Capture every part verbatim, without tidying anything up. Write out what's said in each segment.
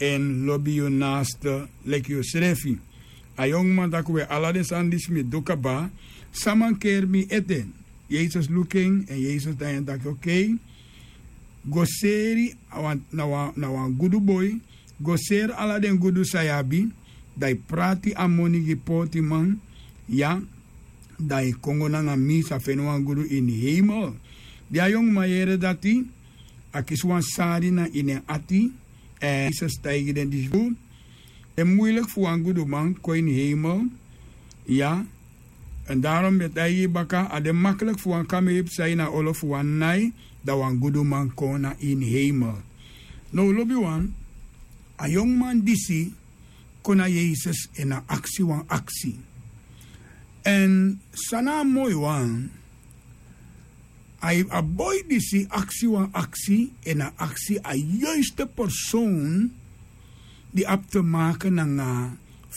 Èn lobi yu naaste leki yusrefi. A yongu man taki we, ala den sani disi mi du kaba. San mankeri mi ete? Yesus luku en, èn Yesus taigi en taki: Okei, go seri na wan gudu boi, go seri ala den gudu san yu abi, dan yu prati a moni gi pootiman, ya, dan yu kon go nanga mi, yu sa feni wan gudu ini heimel. Di a yongu man yere dati, a kisi wan sari na ini en ati, èn Yesus taigi den disi: Den muiliki fu wan guduman kon ini heimel, ya. Èn daron mi e taigi yu baka, a de makliki fu wan kameel psa ini a olo fu wan nai, dan wan guduman kon na ini heimel. Now lobiwan, a yongu man disi kon na Yesus èn a aksi wan aksi. Èn san na a moi wan, a boi disi aksi wan aksi, èn a aksi a yuiste persoon di abi te make nanga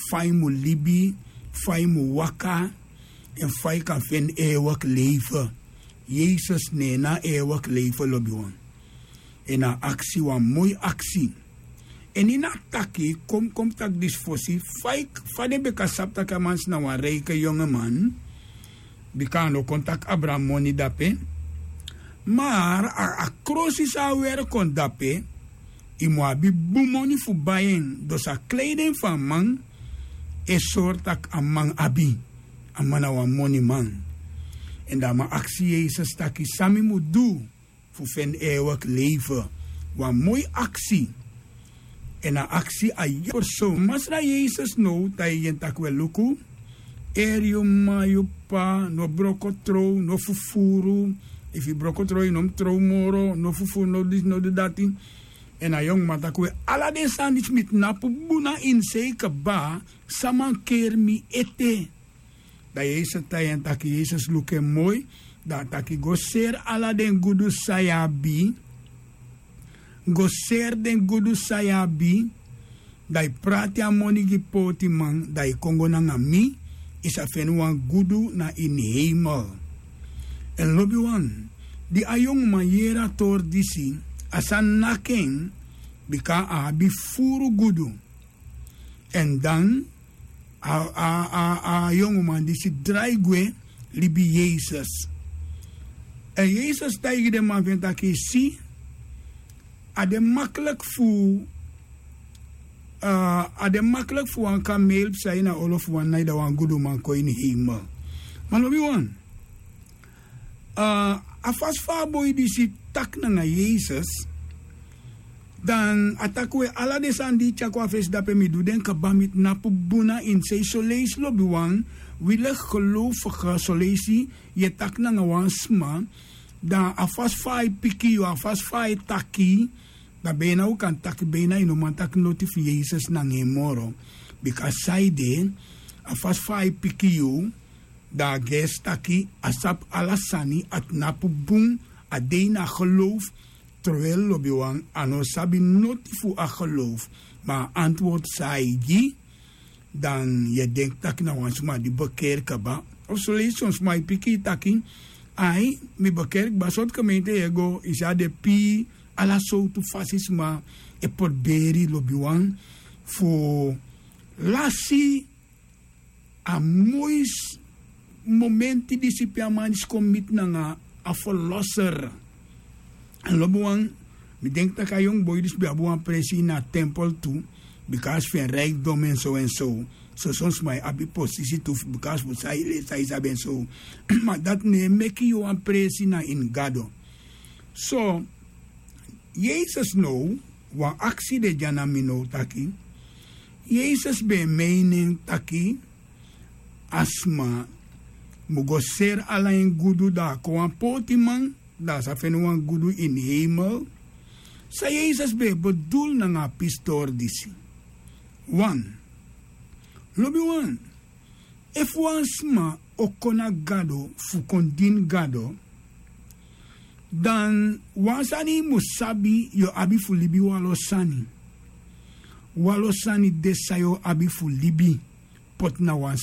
fa yu mu libi, fa yu mu waka, èn fa yu kan feni eeuwig leven. Yesus ne na eeuwig leven, lobiwan. Èn a aksi wan moi aksi. Èn ini a taki, kon mi kon mi taki disi fosi, fa yu, fa den ben kan sabi taki a man disi na wan reiki yongu man, bika a no kon taki abra moni dape. Ma a, a krosi san a weri kon dape, yu mu abi bun moni fu bai en. Dus a kleiden fu a man e sori taki a man abi, a man na wan moniman. Èn dan a man aksi Yesus taki: San mi mu du fu feni eeuwig leven? Wan moi aksi. Èn a aksi a yu persoon. Masra Yesus now taigi en taki: We, luku, eri yu m'ma, yu p'pa, no broko trow, no fufuru. Efu yu broko trow, yu no mu trow moro, no fufuru, no disi, no du dati. Èn a yongu man taki: We, ala den sani disi mi tnapu bun na ini sei kaba, san mankeri mi ete? Dan Yesus taigi en taki, Yesus luku en moi, dan a taki: Go seri ala den gudu san yu abi, go seri den gudu san yu abi, dan yu prati a moni gi pootiman, dan yu kon go nanga mi, yu sa feni wan gudu na ini heimel. Èn lobiwan, di a yongu man yere a tori disi, a sani naki en, bika a abi furu gudu. Èn dan a, a, a, a yongu man disi drai gwe libi Yesus. Èn Yesus taigi den man fu en taki: Si, a de makliki fu, a, a de makliki fu wan kameel psa ini a olo fu wan nai, dan wan guduman kon ini heimel. Ma lobiwan, a, a fasi fa a boi disi taki nanga Yesus, dan a taki: We, ala den sani di yu tyari kon a fesi dape, mi du den kaba, mi tnapu bun na ini sei. Soleisi lobiwan, wi leki geloofige, soleisi yu e taki nanga wan sma, dan a fasi fa a e piki yu, a fasi fa a e taki, dan beina wi kan taki beina yu no man taki noti fu Yesus nanga en moro. Bika saide, a fasi fa a e piki yu, dan a gersi taki a sabi ala sani, a tnapu bun, a de ini a geloof, terwijl lobiwan, a no sabi noti fu a geloof. Ma a antwoord san a e gi, dan yu e denki taki na wan sma di bekerki kaba. Of soleisi son sma e piki yu taki: Ai, mi bekerki kaba, sortu gemeente yu e go? Yu si a de pii, ala sowtu fasi sma e proberi, lobiwan, fu lasi a moi momenti disi pe a man disi kon miti nanga a Verlosser. Èn lobiwan, mi denki taki a yongu boi disi ben abi wan presi ini a tempel tu, bika fu en rijkdom èn so èn so. So son sma e abi posisi tu, bika fu san yu lesi, san yu sabi èn so. Ma dati no e meki yu wan presi na ini Gado. So, Yesus now, wan aksi de dya na mi now taki, Yesus ben e meini en taki a sma mu go seri ala en gudu, dan a kon wan pootiman, dan a sa feni wan gudu ini heimel. San Yesus ben e bedul nanga a pistori disi? Wan, lobiwan, efu wan sma o kon na Gado fu kon dini Gado, dan wan sani yu mu sabi, yu o abi fu libi wanlo sani. Wanlo sani de san yu o abi fu libi, poti na wan